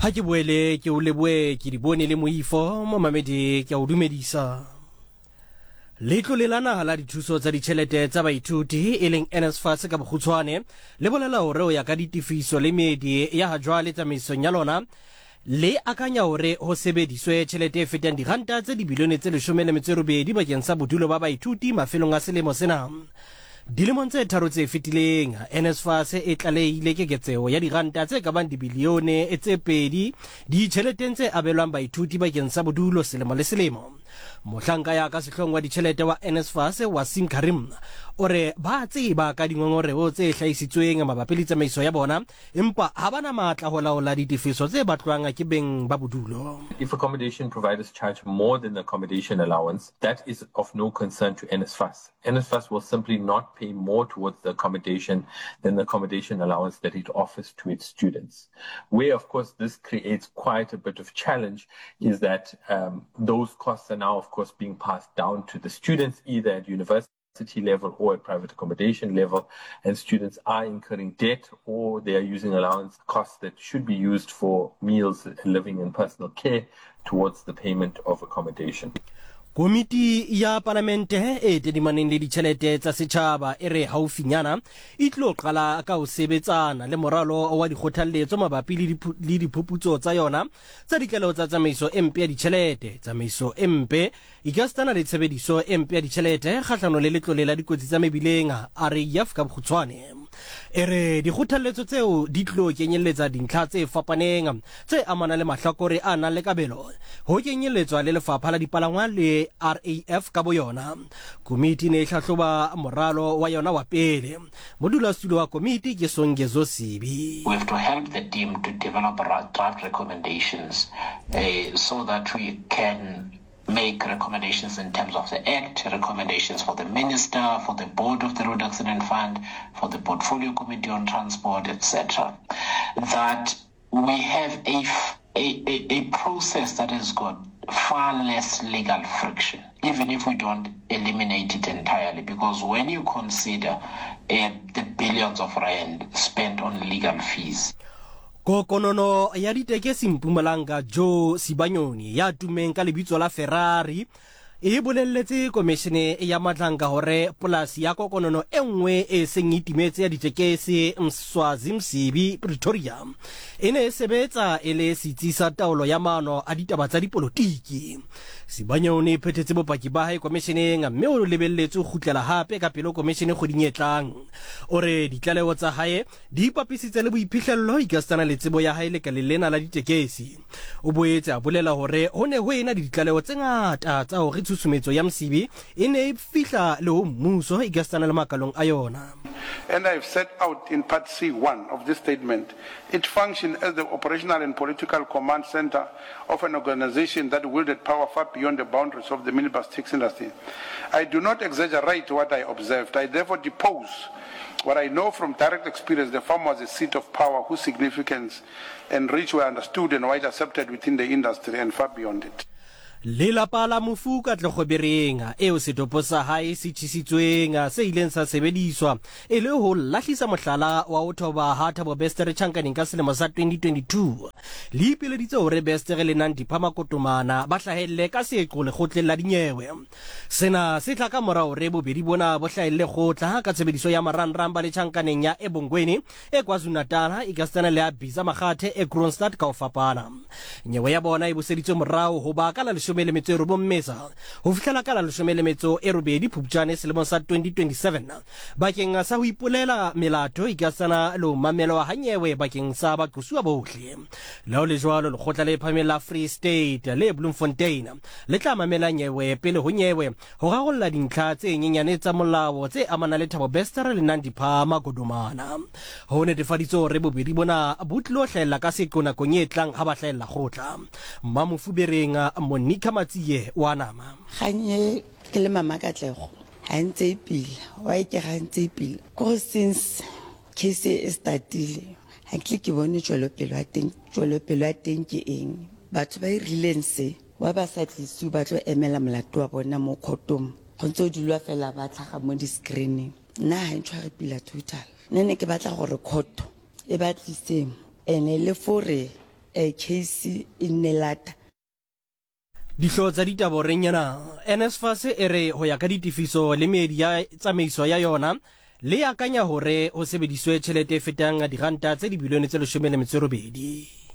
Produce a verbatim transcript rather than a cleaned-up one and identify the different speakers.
Speaker 1: Ha ke boele ke o leboe ke di bone le moifo momamedi, ke a o dumedisa. Letlole la naha la dithuso tsa ditjhelete tsa baithuti, e leng N S F A S ka bokgutshwane, le bolela hore ho ya ka ditefiso le meedi ya hajwale tsamaisong ya lona, le akanya hore ho sebediswe tjhelete e fetang diranta tse dibilione tse leshome le metso e robedi bakeng sa bodulo ba baithuti mafelong a selemo sena. Dilemong tse tharo tse fetileng, N S F A S e tlalehile keketseho ya diranta tse ka bang dibilione tse pedi ditjheleteng tse abelwang baithuti bakeng sa bodulo selemo le selemo. Mohlanka ya ka sehloohong wa ditjhelete wa N S F A S, Waseem Carrim, o re ba tseba ka dingongoreho tse hlahisitsweng mabapi le tsamaiso ya bona, empa ha ba na matla ho laola ditefiso tse batlwang ke beng ba bodulo.
Speaker 2: If accommodation providers charge more than the accommodation allowance, that is of no concern to N S F A S. N S F A S will simply not pay more towards the accommodation than the accommodation allowance that it offers to its students. Where, of course, this creates quite a bit of challenge is that um, those costs are now, of course, being passed down to the students, either at university level or at private accommodation level, and students are incurring debt or they are using allowance costs that should be used for meals, living and personal care towards the payment of accommodation.
Speaker 1: Komiti ya palamente e tadimaneng le ditjhelete tsa setjhaba e re haufinyana e tlo qala ka ho sebetsana le moralo wa dikgothalletso mabapi le diphuputso tsa yona tsa ditlaleho tsa tsamaiso e mpe ya ditjhelete, tsamaiso e mpe ekasitana le tshebediso e mpe ya ditjhelete kgahlano le Letlole la Dikotsi tsa Mebileng, R A F ka bokgutshwane. E re dikgothalletso tseo di tlo kenyelletsa dintlha tse fapaneng tse amanang le mahlakore a nang le kabelo, ho kenyelletswa le Lefapha la Dipalangwa le R A F ka boyona. Komiti ne e hlahloba moralo wa yona wa pele. Modulasetulo wa komiti ke Songezo Sibi.
Speaker 3: We have to help the team to develop draft recommendations uh, so that we can make recommendations in terms of the Act, recommendations for the Minister, for the Board of the Road Accident Fund, for the Portfolio Committee on Transport, et cetera. That we have a, a, a, a process that has got far less legal friction, even if we don't eliminate it entirely. Because when you consider uh, the billions of rand spent on legal fees,
Speaker 1: Kokonono ya ditekesi Mpumalanga, Joe Sibanyoni, ya tummeng ka lebitso la Ferrari, e bolelletse komishene ya Madlanga hore polasi ya kokonono e nngwe e seng e timetse ya ditekesi Mswazi Msibi, Pretoria, e ne e sebetsa e le setsi sa taolo ya maano a ditaba tsa dipolotiki. Sibanyoni e phethetse bopaki ba hae komisheneng mme o lebelletswe ho kgutlela hape ka pele ho komishene kgweding e tlang. O re ditlaleho tsa hae di ipapisitse le boiphihlello ekasitana le tsebo ya hae lekaleng lena la ditekesi. O boetse a bolela hore ho ne ho ena le ditlaleho tse ngata tsa hore tshusumetso ya Msibi e ne e fihla le ho mmuso ekasitana le makalong a yona.
Speaker 4: And I have set out in Part C one of this statement, it functioned as the operational and political command center of an organization that wielded power far beyond the boundaries of the minibus taxi industry. I do not exaggerate what I observed. I therefore depose what I know from direct experience. The farm was a seat of power whose significance and reach were understood and widely accepted within the industry and far beyond it.
Speaker 1: Lelapa la mofu Katlego Bereng, eo setopo sa hae se tjhisitsweng se ileng sa sebediswa e le ho lahlisa mohlala wa ho thoba ha Thabo Bester tjhankaneng ka selemo sa twenty twenty-two, le ipileditse hore Bester le Nandipha Magudumana ba hlahelle ka seqo lekgotleng la dinyewe. Sena se tla ka mora hore bobedi bona bo hlahelle kgotla ka tshebediso ya marangrang ba le tjhankaneng ya Ebongweni e KwaZulu-Natal ekasitana le ya Bizzah Makhate e Kroonstad ka ho fapana. Nyewe ya bona e buseditswe morao ho ba ka la leshome le metso e robong Mmesa ho fihlela ka la leshome le metso e robedi Phupjane selemong sa twenty twenty-seven bakeng sa ho ipolela melato ekasitana le ho mamelwa ha nyewe bakeng sa baqosuwa bohle. Le ho le jwalo, lekgotla le phahameng la Free State le Bloemfontein le tla mamela nyewe pele ho nyewe ho rarolla dintlha tse nyenyane tsa molao tse amanang le Thabo Bester le Nandipha Magudumana. Ho netefaditswe hore bobedi bona bo tlilo hlahella ka seqo nakong e tlang ha ba hlahella kgotla. Mmamofu Bereng, Monica Matsie wa nama.
Speaker 5: Kgang e ke le mama Katlego ga ntse e pila wa e ke ga ntse e pila kore since case e startile ga ke tle ke bone tswelopele ya teng. Tswelopele ya teng ke eng? Batho ba e rileng se wa ba sa tlisiwe ba tlo emela molato wa bona mo kgotong, go ntse o dulwa fela ba tlhaga mo di-screening. Nna ga e ntshware pila total. Nne ne ke batla gore court e ba tliseng ene le fore um case e nne lata.
Speaker 1: Dihlooho tsa ditaba horeng ena, NSFAS e re ho ya ka ditefiso le meedi ya tsamaiso ya yona, le akanya hore ho sebediswe tjhelete e fetang diranta tse dibilione tse leshome le metso e robedi.